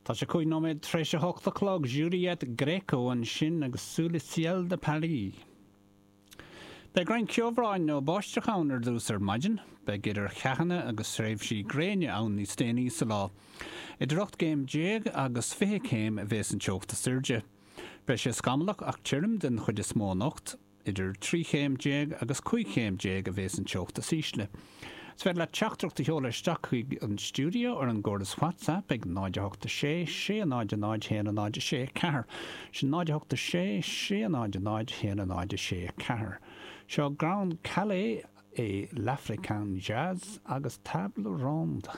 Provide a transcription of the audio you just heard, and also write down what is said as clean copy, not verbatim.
Tá sé 5 nóiméad tar éis a hocht a chlog. Juliette Gréco ansin agus Sous le ciel de Paris. Beidh roinnt ceobhráin nó báisteach ann ar dtús ar maidin. Beidh idir cheathanna agus thréimhsí gréine ann níos déanaí sa lá. Idir 18 gcéim agus 20 céim a bheas an teocht is airde. Beidh sé scamallach ach tirim den chuid is mó anocht. Idir 13 chéim agus 15 chéim a bheas an teocht is ísle. Is féidir leat teachtaireacht a sheoladh isteach chuig an stiúideo ar an gcóras WhatsApp ag 0 8 6 6 0 0 1 0 6 4. Sin 0 8 6 6 0 0 1 0 6 4. Seo Grand Kallé et l'African Jazz agus Table Ronde.